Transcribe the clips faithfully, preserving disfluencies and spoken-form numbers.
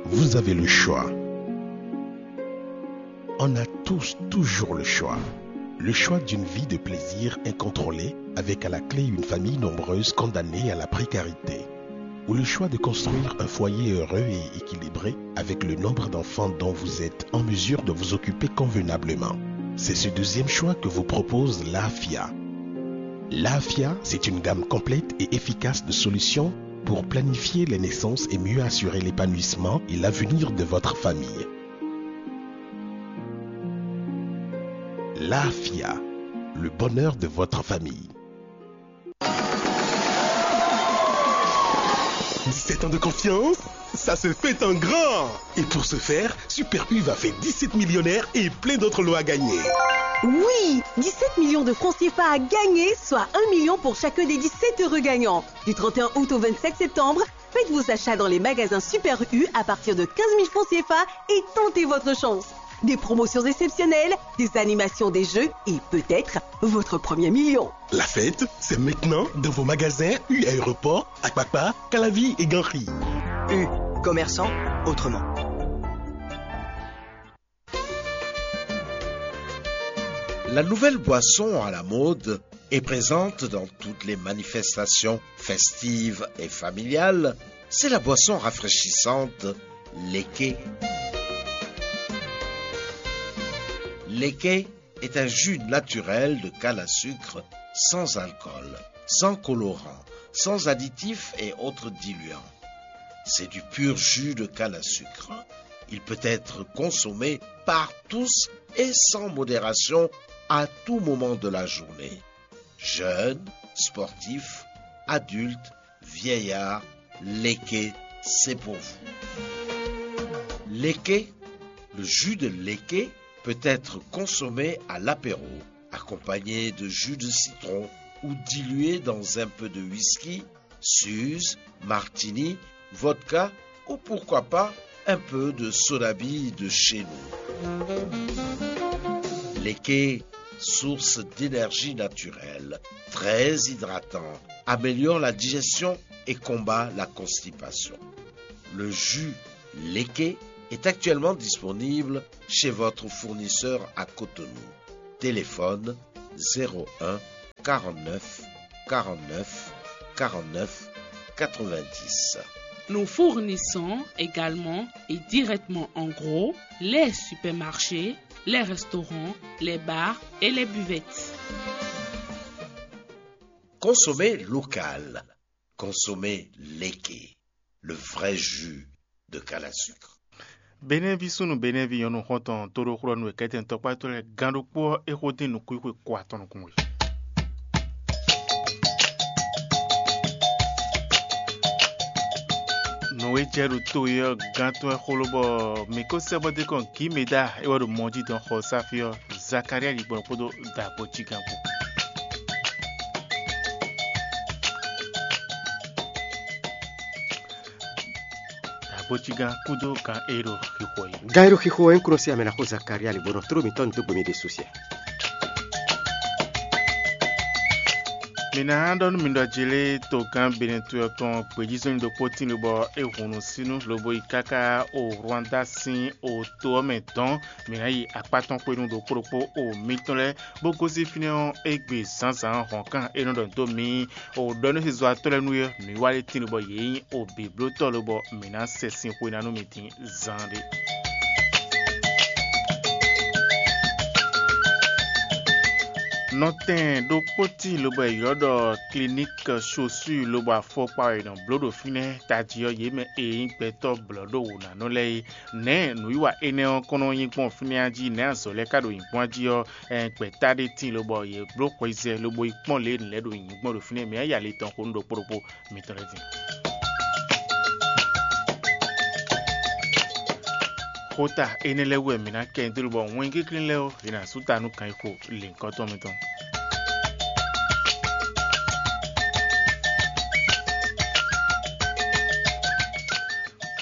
Vous avez le choix. On a tous toujours le choix. Le choix d'une vie de plaisir incontrôlée, avec à la clé une famille nombreuse condamnée à la précarité. Ou le choix de construire un foyer heureux et équilibré avec le nombre d'enfants dont vous êtes en mesure de vous occuper convenablement. C'est ce deuxième choix que vous propose l'AFIA. L'AFIA, c'est une gamme complète et efficace de solutions pour planifier les naissances et mieux assurer l'épanouissement et l'avenir de votre famille. L'AFIA, le bonheur de votre famille. Dix-sept ans de confiance, ça se fait en grand. Et pour ce faire, Super U va faire dix-sept millionnaires et plein d'autres lots à gagner. Oui, dix-sept millions de francs C F A à gagner, soit un million pour chacun des dix-sept heureux gagnants. Du trente et un août au vingt-sept septembre, faites vos achats dans les magasins Super U à partir de quinze mille francs C F A et tentez votre chance. Des promotions exceptionnelles, des animations, des jeux et peut-être votre premier million. La fête, c'est maintenant dans vos magasins U Aéroport, Akpakpa, Calavi et Ganri. U, commerçant autrement. La nouvelle boisson à la mode est présente dans toutes les manifestations festives et familiales. C'est la boisson rafraîchissante Leke. Leke est un jus naturel de canne à sucre sans alcool, sans colorant, sans additifs et autres diluants. C'est du pur jus de canne à sucre. Il peut être consommé par tous et sans modération à tout moment de la journée. Jeunes, sportifs, adultes, vieillards, Leke, c'est pour vous. Leke, le jus de Leke peut être consommé à l'apéro, accompagné de jus de citron ou dilué dans un peu de whisky, suze, martini, vodka ou pourquoi pas un peu de soda bille de chez nous. Leke, source d'énergie naturelle, très hydratant, améliore la digestion et combat la constipation. Le jus Leke est actuellement disponible chez votre fournisseur à Cotonou. Téléphone zéro un quarante-neuf quarante-neuf quarante-neuf quatre-vingt-dix. Nous fournissons également et directement en gros les supermarchés, les restaurants, les bars et les buvettes. Consommez local. Consommez Leke, le vrai jus de canne à sucre. Benɛ́ví súnnu Benɛ́ví nyɔ̌nu xɔ́ntɔn tóɖóxlɔ́nú e kɛ́tɛn tɔkpátɔ́ lɛ́ɛ gán ɖokpó ɔ́, é xo dín nǔkúnxwe ko atɔn nukún we. Nǔ e jɛ ɖo to e ɔ́ gán tɔn wɛ xó ló bɔ mǐ ko sɛ́ bɔ dé kɔn Gǐmeda é wɛ ɖo mɔ jí dɔn xɔ sáfí ɔ́, Zakalía yi gbɔn kpódó dǎgbó cí gán kpó. Dǎgbó cí gán kúdó gán e ɖo xixo yi. Gán e ɖo xixo wɛ un kplɔ́n sín amɛ ná xó Zakalía lě bó nɔ tló mǐtɔn dó gbe mɛ ɖésú siɛ. Mǐ ná ɖɔ nú mi ɖɔ jélé togán Benɛtu ɔ́ tɔn gbějízɔ́nni ɖokpó tín lobɔ é hun nǔsínu lobo yi káká o Rwanda sín o to ɔ́ mɛ dɔn. Mǐ ná yi akpá tɔn xwenu ɖokpó ɖokpó o mitɔn lɛ́ɛ, bó gosín fínɛ́ ɔ́ égbé zǎnzǎn hɔ̌nkan e nɔ ɖɔ dó mǐ o ɖɔ nú xizɔ́watɔ́ lɛ́ɛ nú é, nǔwiwa ɖé tín lobɔ yě nyí o bǐblótɔ́ lobɔ mǐ ná sɛ sin xwe ná nú mi din. Zaanɖé. Nɔtɛn ɖokpó tíin lobɔ è ylɔ́ ɖɔ Clinique Chaussure lobɔ afɔkpa wɛ è nɔ bló ɖo fínɛ́ tají ɔ́, yě mɛ e nyí gbɛtɔ́ blɔ̌ɖówǔnánɔ lɛ́ɛ é. Nɛ̌ nǔwiwa énɛ́ ɔ́ kɔn nɔ nyí gbɔn fínɛ́ jí? Nɛ̌ azɔ̌ lɛ́ɛ ka ɖo nyǐkɔ jí ɔ́? Ɛn gbɛ̌ta ɖé tíin lobɔ yě bló xweyizɛ lobo yi kpɔ́n lě e nǔ lɛ́ɛ ɖo nyǐkɔ ɖo fínɛ́. Mǐ ná yi ali tɔn xo nú ɖokpó ɖokpó mitɔn lɛ́ɛ din. Xota énɛ́ lɛ́ɛ wú wɛ mǐ ná kɛ nyi dó lobɔ wɛn kéklín lɛ́ɛ ɔ́, yě ná sú ta nú kan e xo lěhunkɔtɔn mitɔn.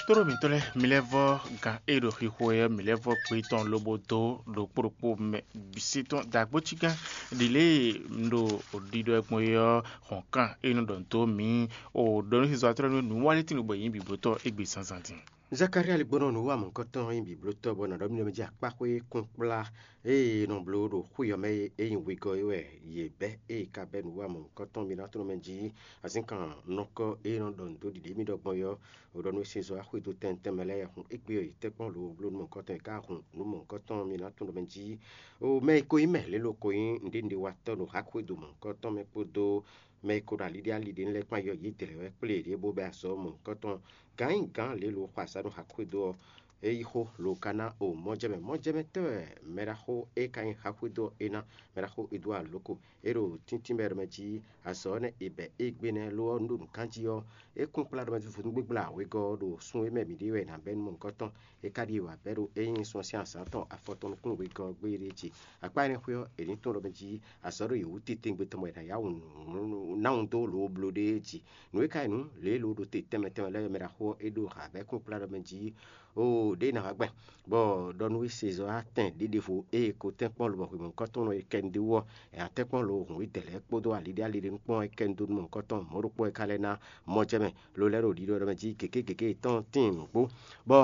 Tóɖó mǐtɔn lɛ́ɛ, mi lɛ́ vɔ́ gan e ɖo xixo wɛ ɔ́, mi lɛ́ vɔ́ gbe tɔn lobo dó ɖokpó ɖokpó mɛ bǐ sí tɔn dǎgbó cí gán ɖi lě e un ɖo ɖiɖɔ ɛ gbɔn é ɔ́, hɔ̌nkan e nɔ ɖɔ dó mǐ o ɖɔ nú xizɔ́ atlɔ́ nú nǔwanlétínú bɔ yě nyí bǐblótɔ́ égbé zǎnzǎn din. Zakalía ligbɔnɔ nǔ wa mɔ̌hunkɔtɔn nyí bǐblótɔ́ bɔ nǎ ɖɔ mì ɖɔ mɛ jí akpáxwé kúnkplá ée è nɔ bló ɖo xwé ɔ́ mɛ é nyí wegɔ́ é wɛ yě bɛ́ ée ka bɛ́ nǔ wa mɔ̌hunkɔtɔn mì ná tlɔ́n mɛ jí azínkan nɔkɔ́ e nɔ ɖɔ nǔ dó ɖiɖě mì ɖɔ gbɔn é ɔ́, è ɖɔ nú é sin zɔ́ wá xwedó tɛnmɛ tɛnmɛ lɛ́ɛ hun égbé ɔ́, yě tɛ́nkpɔ́n lǒbló nú mɔ̌hunkɔtɔn è ká hun nǔ mɔ̌hunkɔtɔn mì ná tlɔ́n mɛ jí. O mɛ e ko nyí mɛ lě lo ko nyí nǔɖénúɖéwatɔ́ ɖo xaxwedó mɔ̌hunkɔtɔn mɛ kpódó mɛ e ko ɖo aliɖíali ɖé lɛ́ɛ kpán yɔ yě dlɛ̌ wɛ kplé yě bó bɛ́ azɔ̌ mɔ̌hunkɔtɔn gǎn nyi gǎn lě lo xɔ azǎn ɖo xaxwedó ɔ́, é yí xó lo ka ná o mɔjɛmɛ mɔjɛmɛtɔ́ wɛ mɛɖaxó e ka nyí xaxwedó ɔ́ é ná mɛɖaxó Edward Loko. É ɖo tíntín mɛ ɖɔ mɛ jí azɔ̌ ɔ́ nɛ́ è bɛ̌ égbé nɛ́ lo ɔ́, un ɖo nǔ kanjí ɔ́, é kún kplá ɖɔ mɛ jí vodúngbégbla wegɔ́ ɔ́ ɖo sun e mɛ mǐ ɖe wɛ è nǎ bɛ́ nú mɔ̌hunkɔtɔn tɔn. É ka ɖi wǎ bɛ́ ɖo é nyí sun ɔ́ sín azǎn tɔn afɔtɔn nukún wegɔ́ ɔ́ gbé ɖé jí. Akpá énɛ́ xwé ɔ́, è ní tunwun ɖɔ mɛ jí azɔ̌ ɖo yě wú titewungbe tɔn bɔ è nǎ yá wǔ ná wun dó lǒ bló ɖéé jí. Nǔ e ka nyí nǔ lě e lo ɖo te tɛnmɛ tɛnmɛ lɛ́ɛ mɛ ɖaxó ɔ́, é ɖo hǎbɛ́kún kplá ɖɔ mɛ jí. Oo ɖěe nǎ wá gbɛn, bɔ ɖɔ nú we sezɔ́ atɛn ɖěɖevo ée ko tɛ́nkpɔ́n lobɔ hwemɔ̌kɔ́tɔn e kɛ nu dó wú ɔ́, è nǎ tɛ́nkpɔ́n lo hǔn i dɛ̌ lɛ́ɛ kpódó aliɖíali ɖé nukpɔ́n e kɛ nu dó nú mɔ̌hunkɔtɔn mɔ̌ ɖokpó e ka lɛ́ ná mɔ jɛ mɛ, lo lɛ́ ɖo ɖiɖɔ ɖɔ mɛ jí gěgé gěgé yětɔn tíin nǔgbó, bɔ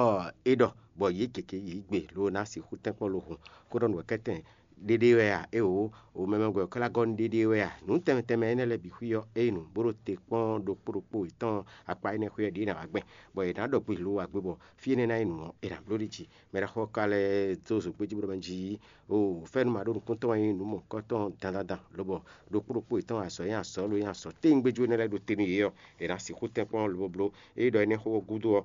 é ɖɔ, bɔ yě gěgé yě gbe lo ná sixú tɛ́nkpɔ́n lo hǔn, kó ɖɔ nǔ wɛ kɛ́tɛn ɖéɖé wɛ a? Éeǒ, o mɛ mɛ wɛ ɔ́ ka ná gɔ́ nú ɖéɖé wɛ a? Nǔ tɛnmɛ tɛnmɛ énɛ́ lɛ́ɛ bǐ xwí ɔ́, ényí nǔ bó ɖo te kpɔ́n ɖokpó ɖokpó yětɔn akpa énɛ́ xwé ɔ́ ɖě ná wá gbɛn, bɔ è nǎ ɖɔ gbe lo wǎ gbe bɔ fí énɛ́ ná nyí nǔ ɔ́, è nǎ bló ɖi jí. Mɛ ɖaxó ɔ́ ka lɛ́ dó zǒgbéjí bó ɖɔ mɛ jí, o fɛ́nú ma ɖó nukúntɔn wɛ nyí nǔ mɔ̌hunkɔtɔn dandandan, lobɔ ɖokpó ɖokpó yětɔn azɔ̌ nyí azɔ̌ lo nyí azɔ̌ téwúngbéjú énɛ́ lɛ́ɛ ɖo te nú yě ɔ́, è nǎ sixú tɛ́nkpɔ́n lobo bló. Ényí ɖɔ énɛ́ xó ɔ́ gúdo ɔ́,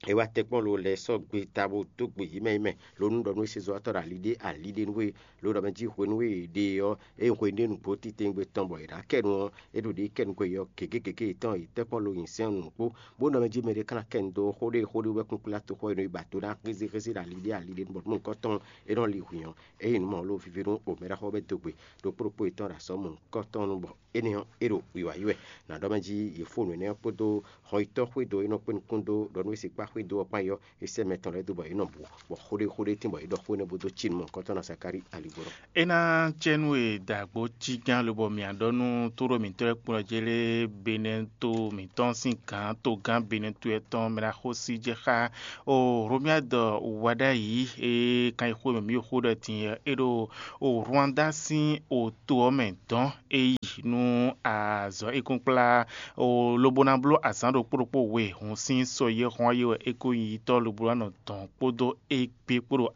é wá tɛ́nkpɔ́n lo lɛ́ sɔ́ gbe ta bó dó gbe yě mɛ yí mɛ, lo nú ɖɔ nú é se zɔ́watɔ́ ɖo ali ɖé ali ɖé nú we, lo ɖɔ mɛ jí hwenu e è ɖe ɔ́, é nyí hwenu ɖé nǔgbó titewungbe tɔn bɔ è nǎ kɛ nu ɔ́, é ɖo ɖě kɛ nukɔn yi ɔ́, gěgé gěgé yětɔn yi tɛ́nkpɔ́n lo nyi sɛ́n nukpó, bó ɖɔ mɛ jí mɛɖé ka ná kɛ nu dó xó ɖé xó ɖé wú wɛ kúnkúnlá toxo e nɔ yi ba do ná xézéxézé ɖo ali ɖé ali ɖé nu bɔ nú nukɔn tɔn é nɔ li hwǐn ɔ́, é nyí nǔ mawulóví ví nú omɛɖaxó bɛ́ dó gbe ɖokpó ɖokpó yětɔn ɖo azɔ̌ mɔ̌hunkɔtɔn nu bɔ énɛ́ ɔ́, é ɖo wiwa yí wɛ. Nǎ ɖɔ mɛ jí yě fó nǔ énɛ́ ɔ́ kpódó hɔnyitɔ́ xwédo e nɔ kpé nukún dó ɖɔ nú é sixú xwédo ɔ́ kpán yi ɔ́, é sɛ́ mɛ tɔn lɛ́ɛ dó bɔ yě nɔ bu, bɔ xó ɖé xó ɖé tín bɔ yě ɖɔ xó énɛ́ bó dó cí nú mɔ̌hunkɔtɔn ná Zakalíi aligbɔnɔ. É ná cɛ nú e dǎgbó cí gán lobɔ mǐ á ɖɔ nú tóɖó mǐtɔn e kplɔ́n jɛ lé Benɛto mǐtɔn sín gǎn togán Benɛto tɔn mɛ ná xó sí jɛ xá o Romiadɔ wá ɖ'ayǐ e kan yi xó e mɛ mǐ ɖo xó ɖɔ din ɔ́, é ɖo o Rwanda sín o to ɔ́ mɛ dɔn é yi nú azɔ̌ e kún kplá o lobo ná bló azǎn ɖokpó ɖokpó we hun sín sɔ yi e xɔ́n ɔ́ yi wɛ é ko nyí yitɔ́ lobo ná nɔ dɔn kpódó égbé kpó ɖo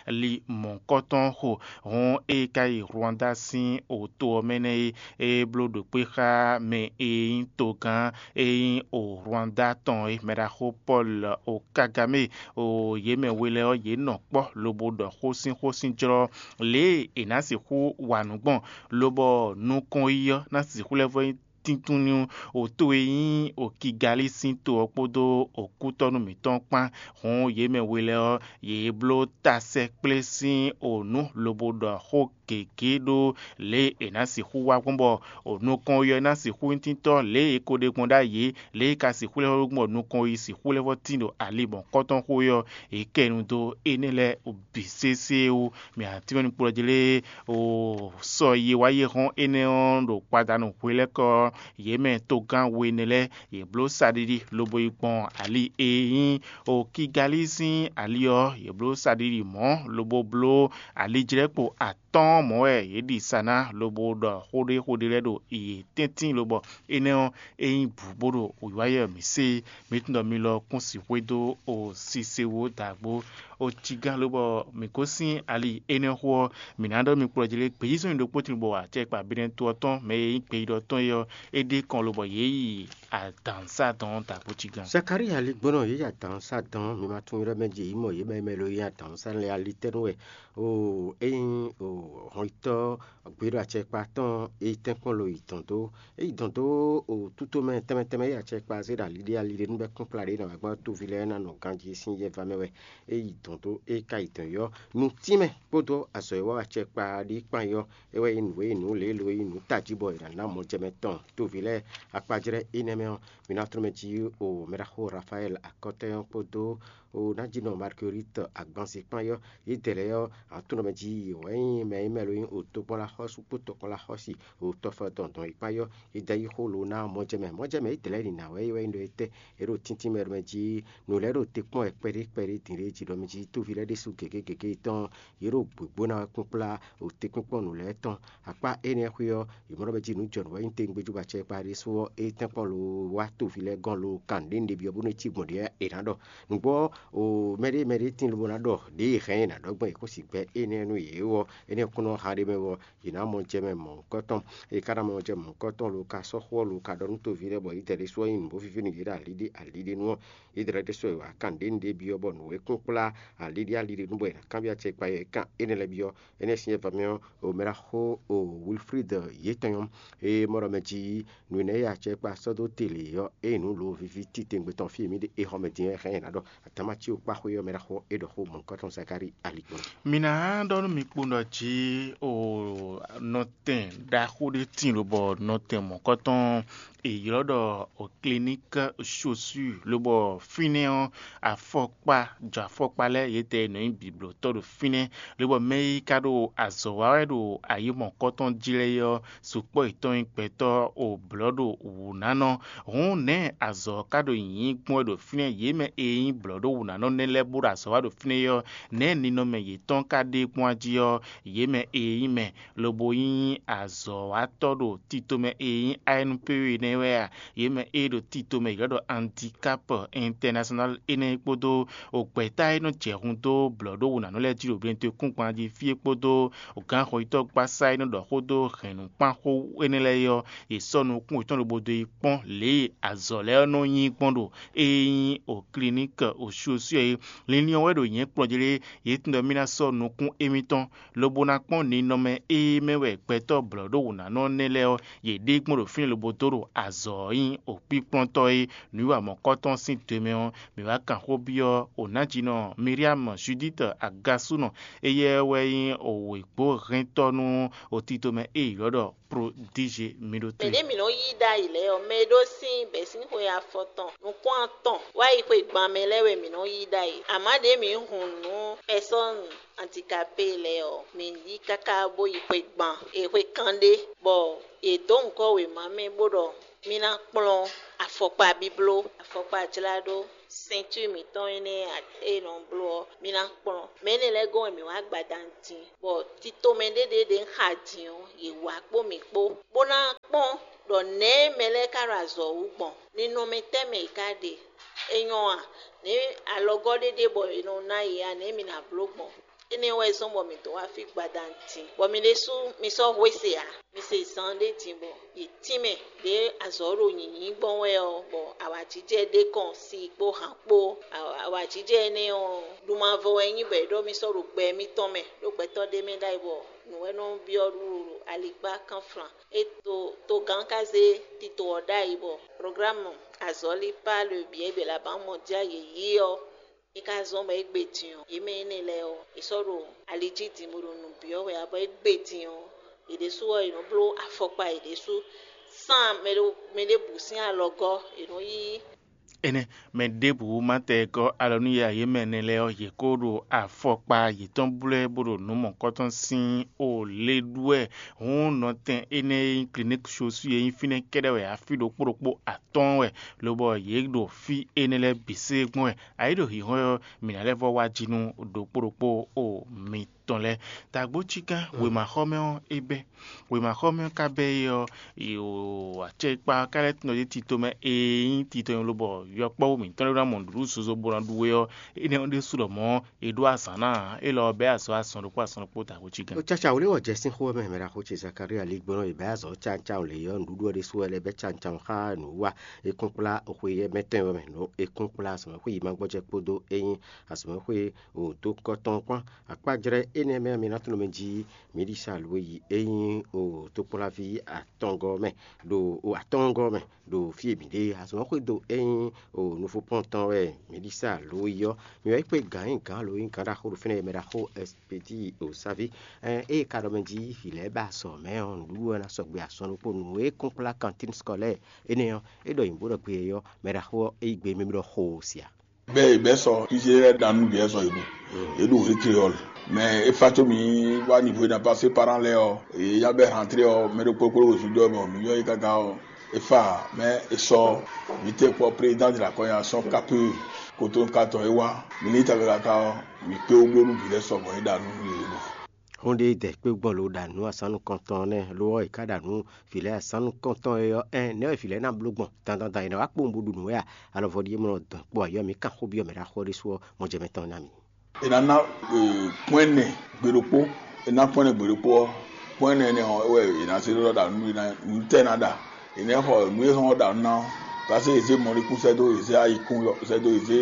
ali mɔ̌hunkɔtɔn xo. Hɔn ée ka yi Rwanda sín oto ɔ́ mɛ nɛ́ é, é bló ɖo kpé xá mɛ e nyí togán e nyí o Rwanda tɔn é, mɛɖaxó Pɔ́lu o Kagamé o yě mɛ we lɛ́ɛ ɔ́, yě nɔ kpɔ́ lobo ɖɔ xó sín xó sín jlɔ́ lě e è nǎ sixú wa nǔ gbɔn, lobɔ nukɔn yi ɔ́ ná sixú lɛ́ vɔ́ nyí tíntún nú o to e nyí o Kigalí sín to ɔ́ kpódó o kútɔ́nú mǐtɔn kpán. Hǔn yě mɛ we lɛ́ɛ ɔ́, yě bló tasɛkplé sín o nǔ lobo ɖɔ xó gěgé ɖó lě e è nǎ sixú wa gbɔn bɔ o nukɔn yi ɔ́ ná sixú nyí tíntɔ́ lě e è ko ɖe gbɔn ɖ'ayǐ, lě e ka sixú lɛ́ vɔ́ gbɔn nukɔn yi sixú lɛ́ vɔ́ tín ɖo ali mɔ̌hunkɔtɔn xó é ɔ́, è kɛ nu dó énɛ́ lɛ́ɛ bǐ sésé wú. Mɛ atínmɛnukplɔ́jlé o sɔ yi wá yi hɔn énɛ́ ɔ́ ɖo kpadanu hwelɛ́kɔ yě mɛ togán we énɛ́ lɛ́ɛ, yě bló saɖiɖi lobo yi gbɔn ali e nyí o Kigalí sín ali ɔ́, yě bló saɖiɖi mɔ̌ lobo bló alijlɛ́kpo atɔ́ɔ́n mɔ̌ wɛ yě ɖi sa ná lobo ɖɔ xó ɖé xó ɖé lɛ́ɛ ɖo yě tɛ́ntin lobɔ énɛ́ ɔ́, é nyí bǔ bó ɖo wǐwáyɛ mǐ sé. Mi tunwun ɖɔ mi lɔ kún sixú dó o sise wú dǎgbó o cí gán lobɔ mǐ gosín ali énɛ́ xó ɔ́, mǐ ná ɖɔ mi kplɔ́ jí lé gbeyízɔ́n ɖokpó tin bɔ acɛkpa Benɛto ɔ́ tɔn mɛ e nyí gbeyíɖɔ tɔn é ɔ́, é ɖe kɔn lobɔ yě yi adǎnsá dɔn dǎgbó cí gán. Zakalíi aligbɔnɔ yě yi adǎnsá dɔn, mi ma tunwun ylɔ́ mɛ jí yě mɔ yě mɛ mɛ lo yí adǎnsá lɛ́ɛ alitɛ́nú wɛ. Oo, ényí o hɔnyitɔ́ gbé ɖo acɛkpa tɔn e tɛ́nkpɔ́n lo yi dɔn dó, é yi dɔn dó o tútomɛ tɛnmɛ tɛnmɛ e acɛkpa zé ɖo ali ɖé ali ɖé nú bɛ́ kún kplá ɖě nɔ wá gbɔn toví lɛ́ɛ ná nɔ ganjí sín yɛva mɛ wɛ. É yi dɔn dó é ka yi dɔn yɔ́ nutínmɛ kpódó azɔ̌ e wá acɛkpa ɖé kpán yɔ́, é wɛ nyí nǔ e nyí nǔ lě e lo nyí nǔ tají bɔ è nǎ ná mɔjɛmɛ tɔn toví lɛ́ɛ akpajlɛ́ énɛ́ mɛ ɔ́, mi ná tlɔ́n mɛ jí o mɛɖaxó Rafayɛ́li akɔtɛ́ ɔ́ kpódó o nájínɔ Marguerite agbanzikpán yɔ́, yědɛɛ lɛ́ɛ ɔ́, aklúnɔ mɛ jí yě wɛ nyí mɛ e mɛ ló nyí òtó kpɔ́n lá xɔ́sú kpó tɔkpɔn lá xɔ́si, òtɔfɔ tɔn dɔn yi kpá yɔ́. Yi da yi xó lo ná mɔjɛmɛ mɔjɛmɛ yi dlɛ̌ nǐ ná wɛ yi wɛ nyí ɖɔ étɛ́ é ɖo tíntín mɛ ɖo mɛ jí. Nǔ lɛ́ɛ ɖo te kpɔ́n wɛ kpɛɖé kpɛɖé din ɖé jí ɖɔ mɛ jí tóví lɛ́ɛ ɖésú gěgé gěgé tɔn yě ɖo gběgbóná wɛ kpínkplá òtekpínkpɔ́n nǔ lɛ́ɛ tɔn. Akpá énɛ́ xwé ɔ́, yě mɔ ɖɔ mɛ jí nǔ jɔ nǔ wɛ nyí tewungbe jú bɔ acɛ kpa ɖésú ɔ́, é tɛ́nkpɔ́n lo wá tóví lɛ́ɛ gɔ́n lo kan ɖě un ɖe byɔ́ bónú é cí gbɔn ɖě è nǎ ɖɔ. Nǔgbó mɛɖé mɛɖé tín lobo ná ɖɔ ɖěe hɛn é nǎ ɖɔ gbɔn è kó si gbɛ énɛ́ nú yě ó ɔ́, énɛ́ kún nɔ ha ɖ'é mɛ wɛ ɔ́, yě ná mɔ jɛ mɛ mɔ̌hunkɔtɔn. È ka ná mɔ jɛ mɔ̌hunkɔtɔn lo ka sɔ́ xó ɔ́ lo ka ɖɔ nú tóví lɛ́ɛ bɔ yě dɛɖé sú ɔ́ nyí nǔ bó víví nú yě ɖo alǐɖé alǐɖé nú ɔ́, yě dɛɖé sú ɔ́ è wǎ kan ɖě nú ɖě byɔ́ bɔ nǔ e kún kplá alǐɖé alǐɖé nú bɔ è nǎ kanbyɔ́ acɛ kpa yɛ kan énɛ́ lɛ́ɛ byɔ́. Énɛ́ sín yɛ va mɛ ɔ́, o mɛ ɖaxó o Wilfrid yětɔn nyɔ́, eye mɔ ɖɔ mɛ jí nǔ énɛ́ e acɛ kpa sɔ́ dó te lě ɔ́, eye nǔ lo víví titewungbe tɔn fí e mǐ ɖe é xɔ mɛ din ɔ́, é hɛn ɛ ná ɖɔ. Atamati kpá xwé ɔ́ mɛ ɖaxó é ɖɔ xó mɔ̌hunkɔtɔn Zakári ali kpɔ́n. Mi ná ɖɔ nú mi kpowun ɖɔ jí o nɔtɛn ɖaxó ɖé tíin lobɔ nɔtɛn mɔ̌kɔtɔn è ylɔ́ ɖɔ o clinique chaussure lobɔ fínɛ́ ɔ́ afɔkpa jɔ afɔkpa lɛ́ɛ yětɛn nɔ nyí biblotɔ́ ɖo fínɛ́, lobɔ mɛ e ka ɖo azɔ̌ wa wɛ ɖo ayǐ mɔ̌kɔtɔn jí lɛ́ɛ ɔ́, sukpɔ́ yětɔn nyí gbɛtɔ́ o blɔ̌ ɖo wǔnánɔ. Hǔn nɛ̌ azɔ̌ ɔ́ ka ɖo nyǐnyí gbɔn wɛ ɖo fínɛ́? Yě mɛ e nyí blɔ̌ɖówǔnánɔ nɛ́ lɛ́ɛ bó ɖo azɔ̌ wa ɖo fínɛ́ é ɔ́, nɛ̌ ninɔmɛ yětɔn ka ɖe gbɔn jí ɔ́, yě mɛ e nyí mɛ lobo nyí azɔ̌watɔ́ ɖo tito mɛ e nyí A N P E nɛ́ wɛ a? Yě mɛ e ɖo tito mɛ yě ɖɔ handicap international énɛ́ kpódó gbɛ̌ta e nɔ jɛ hun dó blɔ̌ɖówǔnánɔ lɛ́ɛ jí ɖo glɛntɔ́kúngban jí fí é kpódó gǎnxɔyítɔ́gbasá e nɔ ɖɔ xó dó hɛ̌nnukpánxó énɛ́ lɛ́ɛ é ɔ́, yě sɔ́ nukún yětɔn lobo dó yi kpɔ́n lě e azɔ̌ lɛ́ɛ nɔ nyí gbɔn ɖo e nyí o kiliniki osyoswɛ é. Linlin ɔ́ wɛ ɖo nyɛ̌ kplɔ́n jí lé, yě tunwun ɖɔ mì ná sɔ́ nukún émítɔn, lobo ná kpɔ́n ninɔmɛ e mɛ wɛ gbɛtɔ́ blɔ̌ɖówǔnánɔ nɛ́ lɛ́ɛ ɔ́, yě ɖe gbɔn ɖo fínɛ́ lobo dó ɖo azɔ̌ ɔ́ nyí okpíkplɔ́ntɔ́ é. Nǔwiwa mɔ̌kɔ́tɔn sín do e mɛ ɔ́, mǐ wá kan xó byɔ́ Onájínɔ Miriam Judith Agasúnɔ, éyɛ́ wɛ nyí wěgbóhɛntɔ́ nú otítomɛ e è ylɔ́ ɖɔ Prodíze. Mi ɖó te. Mɛ̌ ɖě mǐ nɔ yí ɖ'ayǐ lɛ́ɛ ɔ́, mɛ e ɖó sín bɛ̌sínxwe afɔtɔn nukún atɔn wá yi xwe gban mɛ lɛ́ɛ wɛ mǐ nɔ yí ɖ'ayǐ. Amǎ ɖěe mǐ hun nǔ pɛsɔ́nu andikapé lɛ́ɛ ɔ́, mǐ yí káká bó yi xwe gban e xwe kanɖé, bɔ yě dó ŋkɔ́ wěma mɛ bó ɖɔ mì ná kplɔ́n afɔkpa bíbló, afɔkpa jláɖó sɛntúr mǐtɔn énɛ́ e è nɔ bló ɔ́, mì ná kplɔ́n. Mɛ énɛ́ lɛ́ɛ gɔ́n wɛ mǐ wá gbadanu din, bɔ titomɛ ɖé ɖě ɖě un xa din ɔ́, yě wá kpó mǐ kpó, bó ná kpɔ́n ɖɔ nɛ̌ mɛ lɛ́ɛ ka ɖo azɔ̌ wú gbɔn, ninɔmɛ tɛ́ mɛ yě ka ɖe. É nyɔ́ a? Nɛ̌ alɔgɔ́ ɖé ɖe bɔ è nɔ ná yě a? Nɛ̌ mǐ ná bló gbɔn? Énɛ́ wɛ zɔ́n bɔ mǐ dó wá fí gbadanu din, bɔ mi ɖésú mi sɔ́ hwe se ǎ. Mi se zan ɖé din bɔ yě tínmɛ ɖě azɔ̌ ɖo nyǐnyí gbɔn wɛ ɔ́, bɔ awǎjijɛ ɖé kɔn si kpó han kpó. Awǎjijɛ énɛ́ ɔ́, ɖumavɔ wɛ nyí bɔ è ɖɔ mì sɔ́ ɖo gbɛ mitɔn mɛ, ɖó gbɛtɔ́ ɖé mɛ ɖ'ayǐ bɔ nǔ wɛ nɔ byɔ́ ɖo alikpá kánflan. É to togán ka zé tito ɔ́ ɖ'ayǐ bɔ programme azɔ̌lí pa le biɛ bě la ban mɔ já yě yí ɔ́, é ka zɔ́n bɔ é gbe din ɔ́, yě mɛ énɛ́ lɛ́ɛ ɔ́, è sɔ́ ɖo ali jí din bó ɖo nǔ byɔ́ wɛ ǎ, bɔ é gbe din ɔ́, yě ɖésú ɔ́, yě nɔ bló afɔkpa yě ɖésú sán mɛ ɖěbǔ sín alɔgɔ́, yě nɔ yí. Énɛ́, mɛ ɖěbǔ ma tɛ gɔ́ alɔ nú yě ǎ, yě mɛ énɛ́ lɛ́ɛ ɔ́, yě kó ɖo afɔkpa yětɔn blɛ́ bó ɖo nǔ mɔ̌kɔtɔn sín o lě ɖú wɛ. Hǔn nɔtɛn énɛ́ e nyí kliníki Sosú e nyí fínɛ́ kɛ́ɖɛ́ wɛ afí ɖokpó ɖokpó atɔ́ɔ́n wɛ, lobɔ yě ɖo fí énɛ́ lɛ́ɛ bǐ sé gbɔn wɛ. Ayǐ ɖo hǐnhɔ́n ɔ́, mǐ ná lɛ́ vɔ́ wá jí nú ɖokpó ɖokpó o mitɔn lɛ́ɛ. Dǎgbó Cikán, wěmaxɔmɛ ɔ́, é bɛ́. Wěmaxɔmɛ ɔ́ ka bɛ́ é ɔ́, acɛkpa ɔ́ ka lɛ́ tunwun ɖɔ tito mɛ e nyí tito nyi lobɔ yɔkpɔ́vú mǐtɔn lɛ́ɛ ná mɔ nǔɖuɖu zozo bó ná ɖu é ɔ́, énɛ́ ɔ́ ɖésú lɔ mɔ̌ è ɖó azǎn ná ǎ. Élɔ́ ɔ́, bɛ́ azɔ̌ asɔn ɖokpó asɔn ɖokpó dǎgbó Cikán. Ó cáca wlé wɔ jɛ sín xó ɔ́ mɛ, mɛ ɖaxó ce Zakária lí gbɔn ɔ́, è bɛ́ azɔ̌ cancan lě ɔ́, nǔɖuɖu ɔ́ ɖésú wɛ lɛ́ bɛ́ cancan xá nǔwiwa. É kún kplá xwe yɛ́ mɛtɔn ɔ́ mɛ, nú é kún kplá azɔ̌mɛxwé yi ma gbɔjɛ́ kpódó é nyí azɔ̌mɛxwé wǒdókɔ́ tɔn kpán. Akpájlɛ́ énɛ́ mɛ ɔ́, mi ná tunwun mɛ jí mǐ ɖi sa lǒ yi é nyí o tokpɔ́nláví atɔngɔ́ mɛ ɖo o atɔngɔ́ mɛ ɖo fí e mǐ ɖe azɔ̌ xwedó é nyí o nufopɔ́ntɔn wɛ mǐ ɖi sa lǒ yi ɔ́. Mǐ wɛ yi kpé gǎn nyi gǎn lǒ nyi gǎn ɖaxó ɖo fínɛ́ e mɛ ɖaxó Ɛspedíi o Sávi ée ka ɖɔ mɛ jí vǐ lɛ́ɛ ba azɔ̌ mɛ ɔ́, nǔɖuɖu wɛ ná sɔgbe azɔn ɖokpó nǔ e kún kplá kantín skɔlɛ́ɛ énɛ́ ɔ́, é ɖɔ nyǐ bó ɖɔ gbe ɔ́, mɛ ɖaxó ɔ́ é yí gbe mɛ mì ɖɔ xo sia. Bɛ bɛ sɔ Israɛl dan nu bɛ sɔ ibu. Eɖo Ikreɔl. Mais efa tso mi wá niveau na passer parents lɛ́ɛ ɔ́, yě ya bɛ rentrée ɔ́, mɛ ɖokpó kpó ɖo zun dó ɔ́ mɛ ɔ́, mi yɔ yí káká ɔ́, efa mɛ esɔ mi tɛ kpɔ président de la kɔnya sɔn kapu koto katɔ e wá, mi ní ta káká ɔ́, mi kpé wú bló nú vǐ lɛ́ɛ sɔgbɔn e ɖa nú yě ɖo. Xó ɖé dɛ kpé gbɔn lo ɖa nǔ asán nukɔntɔn nɛ́, lo ɔ́, è ká ɖa nǔ vǐ lɛ́ɛ asán nukɔntɔn e ɔ́, ɛn nɛ̌ wɛ vǐ lɛ́ɛ ná bló gbɔn dandan dan è nǎ wá kpowun bó ɖu nǔ wɛ a? Alɔ vɔɖí e mɔ nɔ dɔn kpó ayɔ mǐ kan xó byɔ́ mɛ ɖo axɔ́ ɖésú ɔ́, mɔjɛmɛ tɔn ná mì. È nǎ ná pɔ́n ɛnɛ gbe ɖokpó, è nǎ pɔ́n ɛnɛ gbe ɖokpó ɔ́, pɔ́n ɛnɛ énɛ́ ɔ́, é wɛ è nǎ zé ɖɔ ɖo nǔ e ná nǔ tɛ́ ná ɖa. È nǎ xɔ nǔ e xɔ ɖa nǔ ná ɔ́, paseke è zé mɔ̌likún sɛ́ dó, è zé ayikún sɛ́ dó, è zé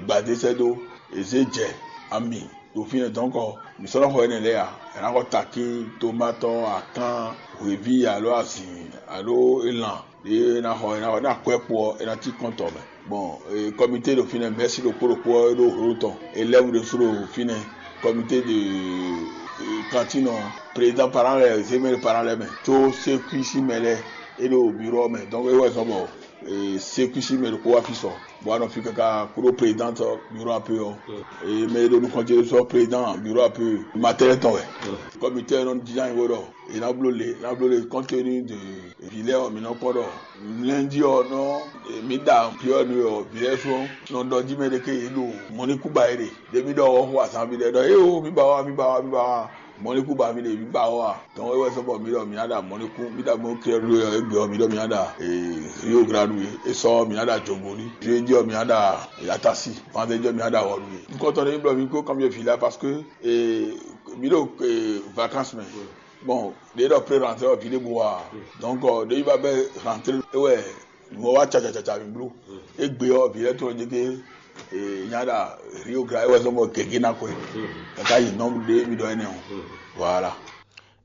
gbadé sɛ́ dó, è zé jɛ, ami ɖo fínɛ́ dɔ̌nkɔ, mǐ sɔ́ nɔ xɔ énɛ́ lɛ́ɛ ǎ. È nǎ xɔ takín, tomatɔ, akán, hweví alo azǐn alo elan ɖě è nǎ xɔ, è nǎ xɔ ní akwɛ́ kpo ɔ́, è nǎ cí kɔn tɔ mɛ. Bon, kɔmité ɖo fínɛ́, mɛ̌si ɖokpó ɖokpó ɔ́ é ɖó hǒló tɔn, élève ɖésú ɖo fínɛ́, kɔmité de kantín ɔ́, président parent lɛ́ɛ, zémɛ parent lɛ́ɛ mɛ, có sékwísi mɛ lɛ́ɛ é ɖo biro ɔ́ mɛ, donc é wɛ zɔ́n bɔ sékwísi mɛ ɖokpó wá fí sɔ, bɔ wá nɔ fí káká kúɖó président biro ape ɔ́, mɛ e ɖo nukɔn ce sɔ président biro ape matɛnɛ tɔn wɛ. Kɔmité ɔ́ nɔ dín anyixó ɖɔ è nǎ bló le, è nǎ bló le compte tenu de vǐ lɛ́ɛ ɔ́, mǐ nɔ kpɔ́ ɖɔ lundi ɔ́ nɔ mǐ ɖa piɔ́ nu ɔ́, vǐ lɛ́ɛ sú nɔ ɖɔ jí mɛ ɖé ké yě ɖo mɔ̌ ní kú ba é ɖe. Ɖě mǐ ɖɔ ɔ́ xo azǎn mǐ ɖɛ ɖɔ éwo mǐ ba wá, mǐ ba wá, mǐ ba wá. Mɔ̌ ní kú ba mǐ ɖe mǐ ba wá. Tɔn é wɛ sɔ́ bɔ mǐ ɖɔ mǐ ná ɖa mɔ̌ ní kú, mí ɖa mɔ̌ kí ɔ́ ɖó ɔ́ égbé ɔ́, mǐ ɖɔ mǐ ná ɖa Rio Grande wě. É sɔ́ mǐ ná ɖa Jogoni. Jeudi ɔ́ mǐ ná ɖa Yatasi. Vendredi ɔ́ mǐ ná ɖa Wɔlu wě. Nukɔntɔn ɖé mǐ blɔ mǐ kó kanbyɔ́ vǐ lɛ́ɛ parce que mǐ ɖo vacances mɛ. Bon, ɖě ɖɔ pré rentrée ɔ́ vǐ ɖěbǔ wá. Donc ɖěbǔ ba bɛ rentrée é wɛ nǔ ɔ́ wá cacacaca mǐ bló. Égbé ɔ́ vǐ lɛ́ɛ tɔn jɛ gé nya ɖa Rio Grande é wɛ zɔ́n bɔ gěgé ná kwɛ. Kaka yi nɔ́ ɖé mǐ ɖɔ énɛ́ ɔ́. Voilà.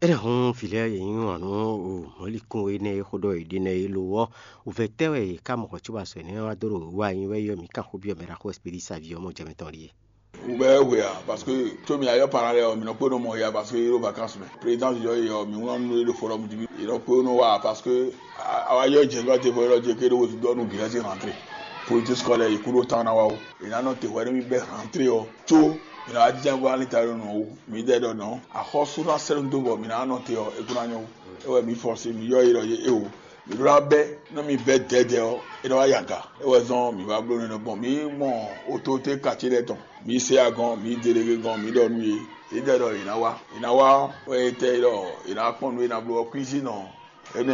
É ɖe hɔn vǐ lɛ́ɛ yě nyí wǎn nú mɔ̌likún énɛ́ e xó ɖɔ yě ɖe nɛ́ é lo ɔ́, wǔvɛ́ tɛ́ wɛ yě ká mɔ xɔ có ba sɔ énɛ́ wá dó ɖo wú a? Nyi wɛ yɔ mǐ kan xó byɔ́ mɛ ɖaxó Espírítu ví ɔ́ mɔ jɛ mɛ tɔn ɖíe. Wǔvɛ́ hwe ǎ, parce que có mǐ ayɔ́ parán lɛ́ɛ ɔ́, mǐ nɔ kpé nɔ mɔ ya, parce que yě ɖo vacances mɛ. Président yɔ é ɔ́, mǐ wlán nú é ɖo forum jí, yě nɔ kpé nɔ wá, parce que a wá yɔ jɛ nú aɖe vɔ é ɖɔ jɛ ké ɖo wezun dɔ nú vǐ lɛ́ɛ sín rentrée. Politique scolaire yě kú ɖó tán ná wá ó. È nǎ nɔ te hwɛ nú mì bɛ́ rentrée ɔ́, có mǐ nɔ wá jínjɔ́n bó wá ní ta ɖo nɔ ó. Mǐ ɖɔ nɔ axɔ́sú ná sɛ́ nú dó bɔ mǐ ná nɔ te ɔ́, é kún ná nyɔ́ ó. É wɛ mǐ fɔ́sé mǐ yɔ é ɖɔ é o. Mǐ ɖó ná bɛ́ nú mì bɛ́ dɛ̌dɛ̌ ɔ́, é nɔ wá yi aga. É wɛ zɔ́n mǐ wá bló nɛ́ gbɔn. Mǐ mɔ ototé kacé lɛ́ɛ tɔn. Mǐ se agɔn, mǐ delege gɔn, mǐ ɖɔ nú yě. Yě ɖɔ ɖɔ yě ná wá. Yě ná wá wɛ é tɛ ɖɔ yě ná kpɔ́n nú é ná bló ɔ́ kwízínɔ. Énɛ́